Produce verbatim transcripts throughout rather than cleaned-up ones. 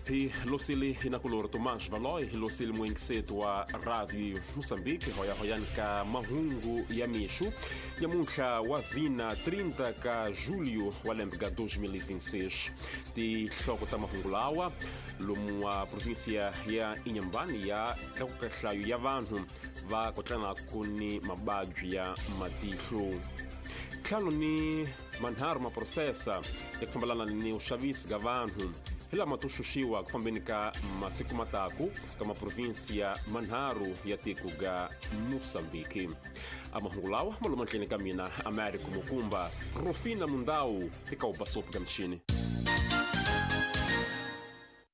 Hi losili inakulor Tomás Valoi, hi losili muenkisetu wa Radio Moçambique, hoya hoyani ka mahungu ya mixu, nyamuntlha wa zina trinta ka julho wa lembe ka dois mil e vinte e seis. Tihloko ta mahungu lawa, lomu wa província ya Inhambane ya tlakuka nhlayo ya vanhu va kotlanaku ni mababyi ya matihlo. Ntlhanu ni manharhu maprosesa ya ku fambelana ni vuxavisi ka vanhu hi lama to xuxiwa ku fambeni ka masiku mataku ka maprovinsia manharhu ya tiko ga Moçambique. A mahungu lawa ma loma ndleni ka mina Américo Mukumba, Rufina Mundau eka ubasopo ka mchini.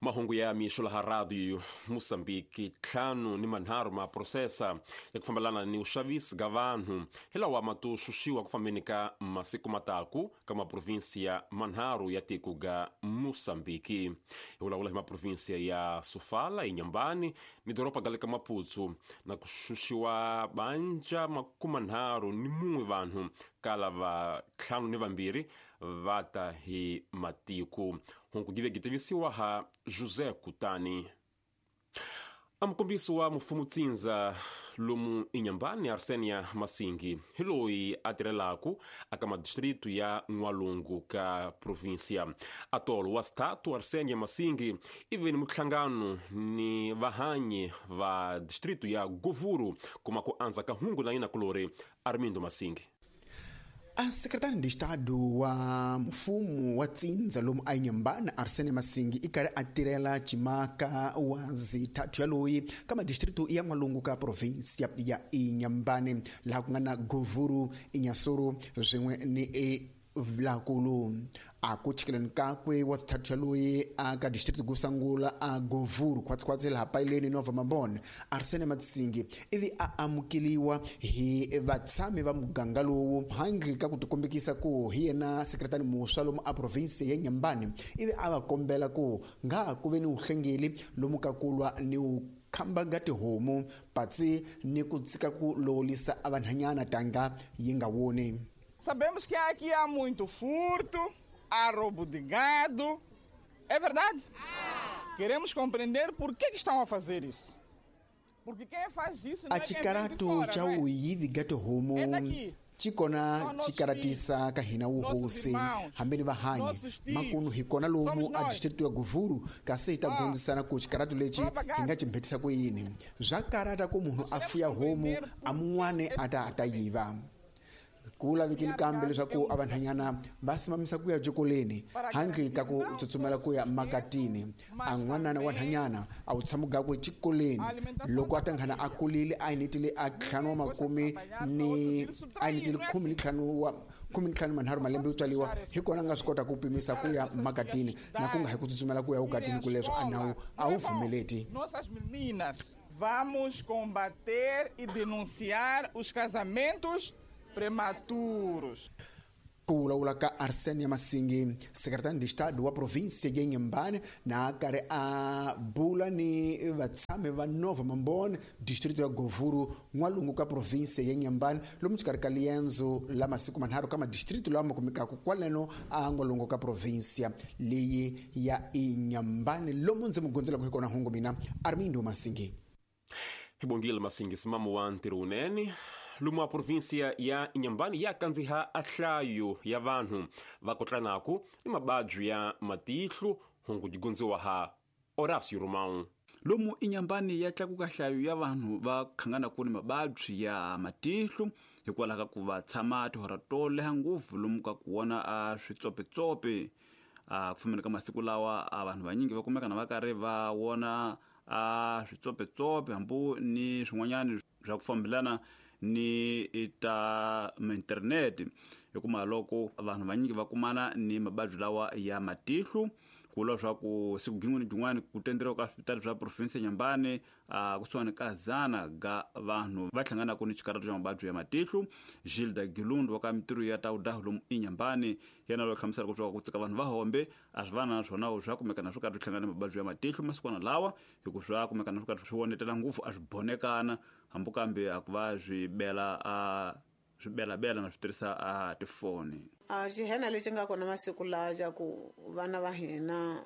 Mahungu ya mixo laha Radio Moçambique, ntlhanu ni manharhu maprosesa ya ku fambelana ni vuxavisi ka vanhu hi lawa ma to xuxiwa ku fambeni ka masiku mataku ka maprovinsia manharhu ya tiko ga Moçambique. Hi vulavula hi maprovinsia ya Sofala, Inhambane ni doroba ga le ka Maputo, na ku xuxiwa banja makumanharhu ni mun'we vanhu ka lava ntlhanu ni vambirhi va ta hi matiko. Hungu give gitivisiwa ha José Kutani. Amukombisi wa mfumo tsindza lomu Inhambane Arsenia Masingi hi loyi a tirhelaku aka madistritu ya N'walungu ka provinsia. Atolo wa statu Arsenia Masingi i ve ni muhlangano ni vahanyi va distritu ya Govuro kuma ku andza ka hungu na yina kulori Armindo Masingi. A secretário de Estado wa mfumo wa tsindza lomu a Inhambane Arsene Masingi i karhi a tirhela cimaka wa zithathu ya loyi ka madistritu ya N'walungu ka provinsia ya Inhambane laha ku nga na Govuro, Inhassoro swin'we ni e Vlakulu. A ku chikeleni kakwe wa zithathu ya loyi a ka distritu ku sungula a Govuro khwatsikhwatsi laha Paileni Nova Mambone Arsene Masingi ivi a amukeliwa hi vatshami va muganga lowu handle ka ku tikombekisa ku hi yena sekretari muswa lomu a province ya Inhambane ivi a va kombela ku nga ku ve ni vuhlengeli lomu ka kulwa ni u khamba ga tihomu patsi ni ku tsika ku lolisa a vanhanyana tanga yi nga woni. Sabemos que aqui há muito furto, há roubo de gado. É verdade? Ah. Queremos compreender por que, que estão a fazer isso. Porque quem faz isso não é quem vem de fora, cha não é? Uyivi gato homo. É daqui. Chikona chikaratisa ka hina wuhosi hambeni vahanyi makunu hi kona lomu a distritu ya Govuro kasi hi ta gondzisana ku xikaratu lexi hi nga chimbhetisa ku yini swa karata ku munhu a fuya homu a mun'wani a ta a ta yiva. Ku lavekile kambe leswaku a vanhanyana va simamisa ku ya jokoleni handle ka ku tsutsumela ku ya makatini. A n'wanana wa nhanyana a wu tshama gakwe xikoleni loko a tanghana a kulile a initile a ntlhanu wa makume ni a initile khume ni ntlhanu wa khume ni ntlhanu manharhu malembe yo tswaliwa hi kona a nga swi kota ku pimisa ku ya makatini na ku nga hi ku tsutsumela ku ya ukatini ku leswo a nawu a wu pfumeleti. Nossas meninas, vamos combater e denunciar os casamentos prematuros. Ku vulavula ka Arsenia Masingi, secretário de Estado wa província ya Inhambane na karhi a bula ni vatshami va Nova Mambone distrito ya Govuro N'walungu ka província ya Inhambane lomu xikarhi ka liendzo la masiku manharhu ka madistritu lama kumekaka kwaleno a N'walungu ka província leyi ya Inhambane lomu ndzi mu gondzelaka hi kona hungu mina Armindo Masingi. Hi bongile Masingi simamo wa ntirho wunene. Lomu a província ya Inhambane ya kandziha a nhlayo ya vanhu va kotlanaku ni mababyi ya matihlo hungu digondziwa ha Horácio Romão. Lomu Inhambane ya tlakuka nhlayo ya vanhu va khanganaku ni mababyi ya matihlo hikwalaho ka ku va tshama tihora to leha ngopfu lomu ka ku vona a switsopetsope. A ku fambeni ka masiku lawa a vanhu vanyingi va kumeka na va karhi va vona a switsopetsope hambi ni swin'wanyana swa ku fambelana ni ta internet hikuma loko vanhu vanyingi va kumana ni mababyi lawa ya matihlo ku vula leswaku siku gin'wana gin'wana ku tenderiwa ka swipitali swa province ya Inhambane a kusuhani ka zana ga vanhu va hlanganaka ni xikarhato xa mababyi ya matihlo. Gilda Gilundu wa ka mitirho ya tawudahu lomu Inhambane yena loyi hlamuselaka leswaku ku tsika vanhu va hombe a swi vana na swona swa kumekana swi karhi swi hlangana na mababyi ya matihlo masikwana lawa hikuva swa kumekana swi karhi swi vonetela ngopfu a swi bonekana hambi kambe a ku va swi bela a Swibelabela na swi tirhisa a tifoni. A xihena lexi nga kona masiku lawa xa ku vana va hina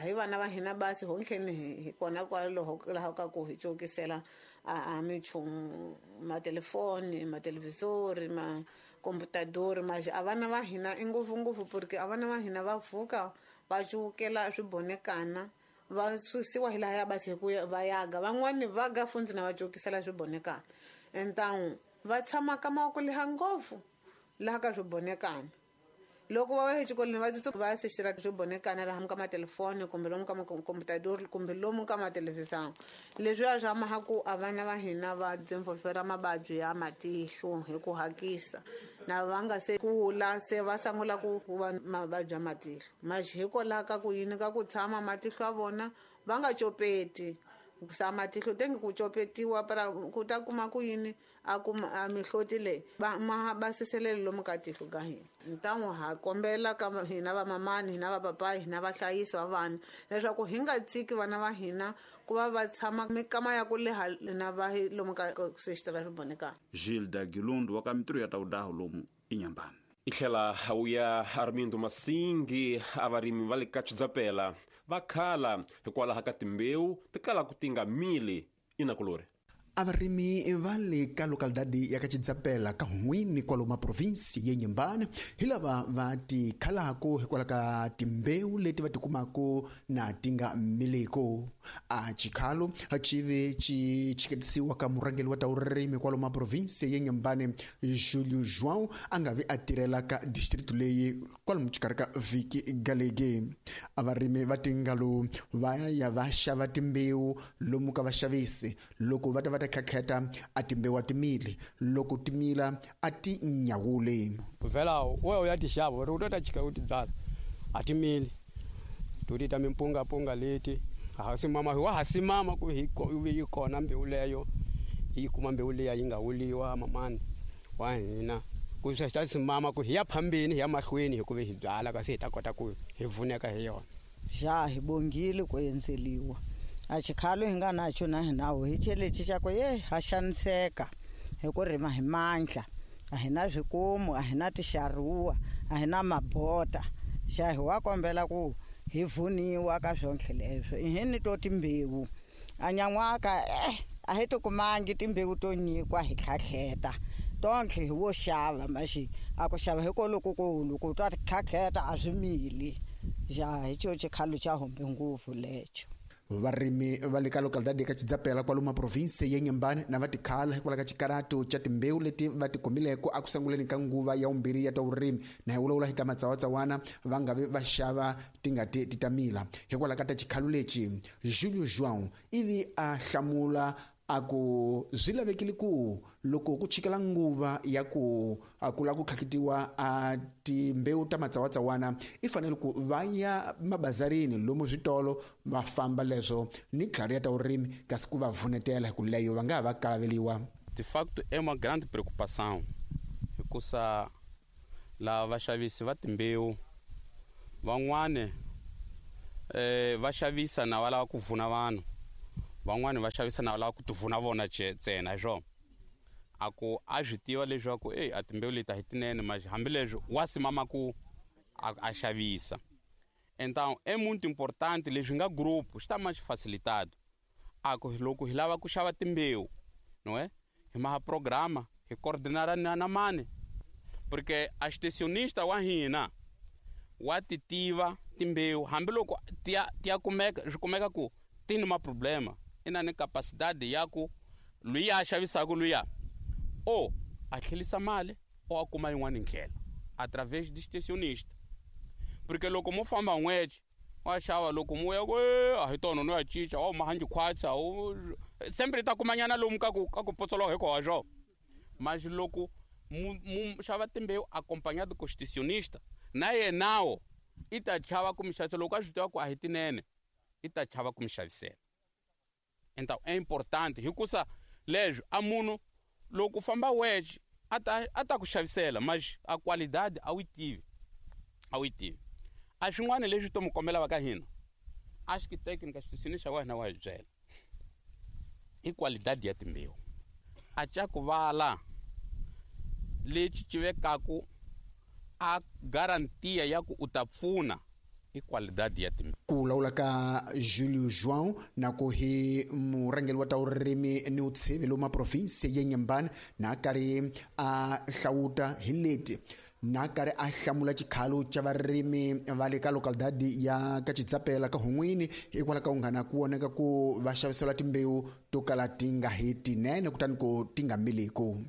hi vana va hina basi hontlheni hi kona kwaloho laha ka ku hi cokisela a minchumu matelefoni matelevisori ma computador mas a vana va hina i ngopfungopfu porque a vana va hina va pfuka va cukela swibonekana va susiwa hi laha ya basi hi ku va yaga van'wani va ga fundzi na va cokisela swibonekana então va tshama kama ku leha ngopfu laha ka swibonekana loko va ya exikolweni va tsutsu va sexela swibonekana laha ka matelefoni kumbe lomu ka makomputador kumbe lomu ka mathelevhizani leswiya swa maha ku a vana va hina va developera mavabyi ya matihlo hi ku hakisa na va nga se kula se va sungula ku va mavabyi ya matihlo maxi hikwalaho ka ku yini ka ku tshama matihlo ya vona va nga copeti sa matihlo tenge ku copetiwa para ku ta kuma ku yini a kuma a mihloti leyi va ma basiselele lomu ka tihlo ka hina ntan'wu ha kombela ka hina vamamani hina vapapayi hina vahlayisi va vana leswaku hi nga tshiki vana va hina ku va va tshama mikama ya ku leha na va lomu ka sexitara swibonekana. Gilda Gilundu wa ka mitirho ya tawudaho lomu inyambani. I tlhela wu ya Armindo Masingi a varimi va le ka Chidzapela va khala hikwalaho ka timbewu ti kalaka ti nga mili inakulori. A varimi va le ka localidade ya ka Chidzapela ka Hun'wini kwalomu provinsi ya Inhambane hi lava va ti khalako hikwalaho ka timbewu leti va tikumaka na ti nga miliko. A xikhalo xi ve xi chiketisiwa ka murhangeri wa ta vurimi kwalomu provinsi ya Inhambane Julio João a nga vi a tirhela ka district leyi kwalomu xikarhi ka vhiki galege. A varimi va tingalo va ya va xava timbewu lomu ka vaxavisi loko va ta va ta khakheta a timbewu a timili loko timila a ti nyawuli. Vhela wewe uya ti xava uri u ta chika u ti byala a timili to ti ta mimpungapunga leti ha simama wa ha simama ku hi yi kona mbewu leyo hi kuma mbewu leya yi nga wuliwa mamani wa hina ku swi ta simama ku hi ya phambeni hi ya mahlweni hi ku ve hi byala kasi hi ta kota ku hi vuneka hi yona. Xa hi bongile ku endzeliwa a xikhalo hi nga naxo na hinawo hi chelexi xa ku ye ha xaniseka hi ku rima hi mandla a hi na swikomu a hi na tixaruwa a hi na mabota xa hi wa kombela ku hi vuniwa ka swonke leswo i hi ni to timbewu a nyan'waka eh a hi tikumangi timbewu to nyikwa hi tlhatlheta tonke hi wo xava maxi a ku xava hi kolokukulu ku ta tlhatlheta a swi mili xa hi xo xikhalo xa hombe ngopfu lexo. Varimi va le ka localidade ka Chidzapela kwalomu provinsi ya Inhambane na va tikhala hikwalaho ka xikarato xa timbewu leti va ti kumileko eku sunguleni ka nguva ya vumbirhi ya ta vurimi na hi vulavula hi ta matsawatsawana va nga vi va xava ti nga ti ti ta mila hikwalaho ka ta xikhalo lexi. Julio João ivi a hlamula a ku swi lavekile ku loko ku chikela nguva ya ku a ku lava ku tlhakitiwa a timbewu ta matsawatsawana i fanele ku va ya mabazarini lomu switolo va famba leswo ni tlhari ya ta vurimi kasi ku va vunetela hi ku leyo va nga ha va kalaveliwa. De facto é uma grande preocupação hikusa lava vaxavisi va timbewu van'wani eh va xavisa na va lava ku vuna vanhu van'wani va xavisa na va lava ku tivuna vona ntsena hi swona a ku a swi tiva leswaku eyi a timbewu leti a hi tinene mas hambileswi wa simama ku a xavisa. Então é muito importante leswi nga grupo xi ta ma xi facilitado a ku loko hi lava ku xava timbewu não é hi maha programa hi coordenar na na mani porque a extensionista wa hina wa ti tiva timbewu hambiloko ti ya ti ya kumeka swi kumeka ku ti ni maproblema i na ni capacidade ya ku luya a xavisaka luya o a tlhelisa mali o a kuma yin'wana ndlela através de extensionista porque loko mo famba n'wexe wa xava loko mo ya ku a hi tona no ya cinca wa mahanji khwatsa sempre ta kumanyana lomu ka ku ka ku potsoloka hi koho swo mas loko mu xava timbewu acompanhado com extensionista na yenawo i ta chava ku mi xavisela loko a swi tiva ku a hi tinene i ta chava ku mi xavisela. Então é importante hikusa leswi a munhu loko u famba wexe a ta a ta ku xavisela mas a qualidade a wu yi tivi a wu yi tivi. A swin'wana leswi to mi kombela va ka hina a xi técnica xi xa wa hina wa hi byela i qualidade ya timbewu a ca ku vala Lexi ci vekaku a garantia ya ku u ta pfuna i qualidade ya timbewu. Ku lawula ka Julio João na ku hi murhangeri wa ta vurimi ni vutshivi lomu province ya Inhambane na karhi a hlawuta hi leti na karhi a hlamula xikhalo xa varimi va le ka localidade ya ka Chitsapela ka Hun'wini hikwalaho ka unghana ku voneka ku va xavisela timbewu to kala ti nga hi tinene kutani ku ti nga miliku.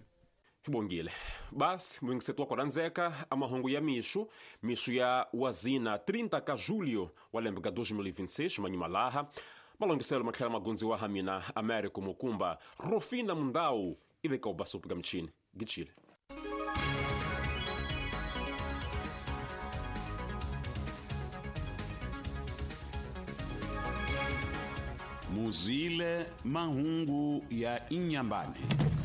Bongile basi mwingiseto wa kuranzeka amahungu ya mixo mixo ya wazina trinta ka julho wa lembe ka dois mil e vinte e seis manyimalaha malongiselo matlhela magunzi wa hamina Américo Mukumba Rufina Mundau iveka ubasupu ka mchini gichile. Muzile mahungu ya Inhambane.